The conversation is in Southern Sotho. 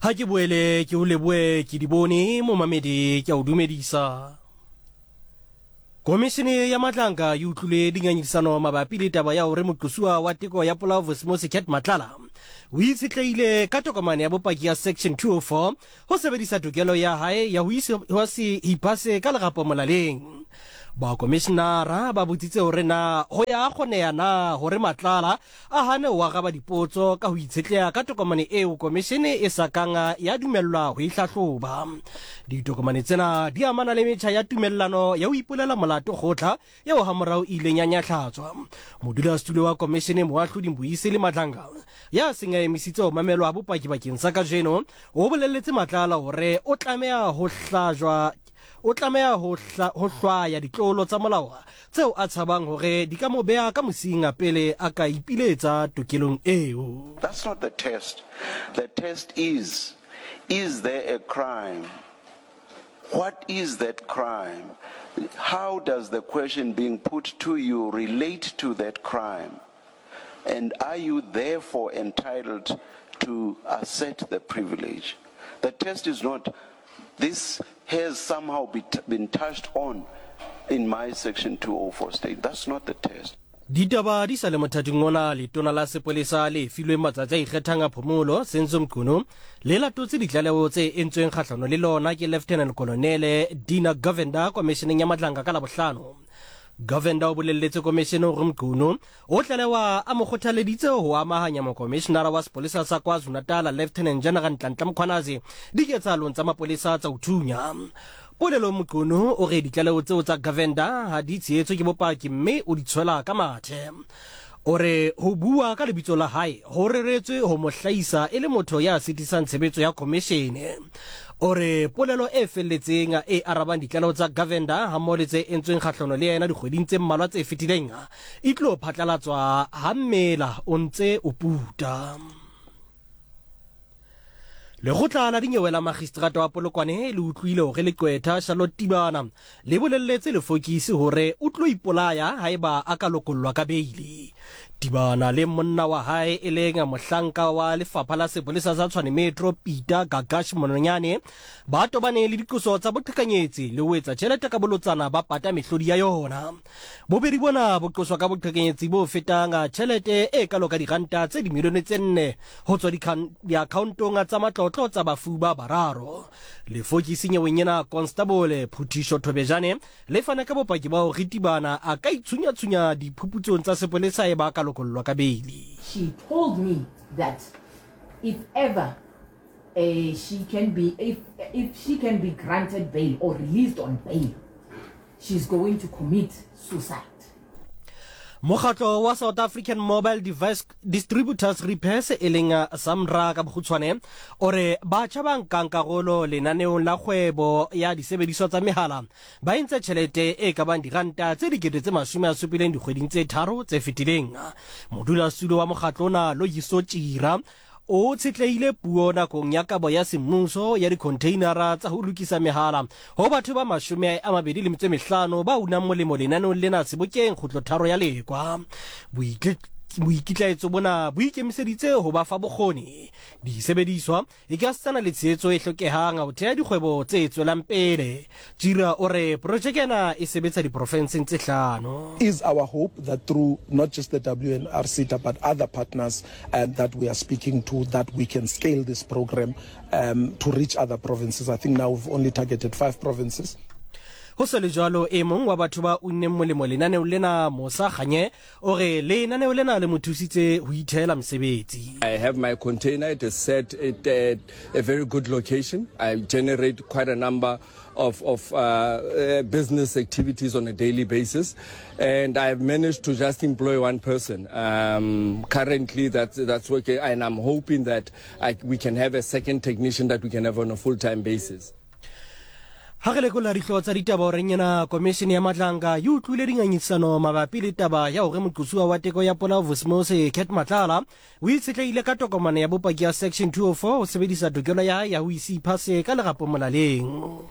Ha ke boele ke o leboe ke di bone momamedi ke a o dumedisa. Komishene ya Matlanka e utlwile dingangisano mabapi le taba ya hore moqosuwa wa teko ya polao Vosimosi Cat Matlala o itshetlehile ka tokomane ya bopaki ya Section 204 ho sebedisa tokelo ya hae ya ho se iphase ka lerapo molaleng. Bakomishinara ba botsitse hore na ho ya kgoneha na hore Matlala a hane ho araba dipotso ka ho itshetleha ka tokomane eo komishene e sa kang ya dumellwa ho e hlahloba. Ditokomane tsena di amana le metjha ya tumellano ya ho ipolela molato kgotla eo hamorao e ileng ya nyahlatswa. Modulasetulo wa komishene Moahlodi Mbuyiseli Madlanga, ya seng a emisitse ho mamelwa ha bopaki bakeng sa kajeno, o bolelletse Matlala hore o tlameha ho hlajwa O tlameha ho, ho hlwaya ditlolo tsa molao tseo a tshabang hore di ka mo beha ka mosing pele a ka ipiletsa tokelong eo. That's not the test. The test is, is there a crime? What is that crime? How does the question being put to you relate to that crime? And are you therefore entitled to assert the privilege? The test is not, this has somehow be, been touched on in my section 204 state. That's not the test. Ditaba di sa le mothating ona, letona la sepolesa le filweng matsatsi a ikgethang a phomolo, Senzo Mchunu, le latotse ditlaleho tse entsweng kgahlano le lona ke Lieutenant Colonel Dina Govender komisheneng ya Madlanga ka Labohlano. Govender o bolelletse komishene hore Mchunu o tlalewa a mo kgothaleditse ho amahanya mokomishenara wa sepolesa sa KwaZulu-Natal Lieutenant General Nhlanhla Mkhwanazi diketsahalong tsa mapolesa tsa ho thunya. Polelong Mchunu o re ditlaleho tseo tsa Govender ha di tshehetswe ke bopaki mme o di tshwela ka mathe. O re ho bua ka lebitso la hae ho reretswe ho mo hlahisa e le motho ya sitisang tshebetso ya khomishene. O re polelo e felletseng e arabang ditlaleho tsa Govender hammoho le tse entsweng kgahlano le yena dikgweding tse mmalwa tse fetileng e tlo phatlalatswa ha mmela o ntse o puta. Lekgotla la dinyewe la Magistrata wa Polokwane le utlwile hore leqwetha Charlotte Tibana le bolelletse lefokisi hore o tlo ipolaya haeba a ka lokollwa ka beili. Tibana le monna wa hae e leng mohlanka wa lefapha la sepolesa sa Tshwane Metro Peter Gagash Mononyane ba tobane le diqoso tsa boqhekanyetsi le ho etsa tjhelete ka bolotsana ba pata mehlodi ya yona. Bobedi bona bo qoswa ka boqhekanyetsi bo fetang tjhelete e kalo ka diranta tse dimilione tse nne ho tswa diakhaontong tsa matlotlo tsa bafu ba bararo. Lefokisi nyeweng ena, Konstabole Phuthisho Thobejane le fana ka bopaki ba hore Tibana a ka itshunyatshunnya diphuputsong tsa sepolesa eba a ka lokollwa ka beili. She told me that if ever she can be, if, if she can be granted bail or released on bail, she's going to commit suicide. Mokgatlo wa South African Mobile Device Distributors Repairs e leng SAMRA ka bokgutshwane o re batjha ba nkang karolo lenaneong la kgwebo ya disebediswa tsa mehala ba entse tjhelete e ka bang diranta tse 70,000 dikgweding tse tharo tse fetileng. Modulasetulo wa mokgatlo ona Loyiso Tjira O tshetlehile puo nakong ya kabo ya semmuso ya dikhontheinara tsa ho lokisa mehala ho batho ba 25 ba unang molemo lenaneong lena sebokeng Kgutlotharo ya Lekwa. Boikitlaetso bona bo ikemiseditse ho ba fa bokgoni, disebediswa ekasitana le tshehetso e hlokehang ho theha dikgwebo tse tswelang pele. Tjira o re projeke ena e sebetsa diprofenseng tse hlano. Is our hope that through not just the WNRCTA but other partners um, that we are speaking to that we can scale this program um, to reach other provinces. I think now we've only targeted five provinces. Ho sa le jwalo, e mong wa batho ba unneng molemo lenaneong lena, Mosa Kganye, o re lenaneo lena le mo thusitse ho ithehela mosebetsi. I have my container, it is set at a very good location. I generate quite a number of, of uh, uh, business activities on a daily basis. And I've managed to just employ one person. Um, currently, that's, that's working. And I'm hoping that I, we can have a second technician that we can have on a full-time basis. Ha re lekola dihlooho tsa ditaba horeng ena, komishene ya Madlanga e utlwile dingangisano mabapi le taba ya hore moqosuwa wa teko ya polao Vusimusi Cat Matlala o itshetlehile ka tokomane ya bopaki ya Section 204 ho sebedisa tokelo ya hae ya ho ise iphase ka lerapo molaleng.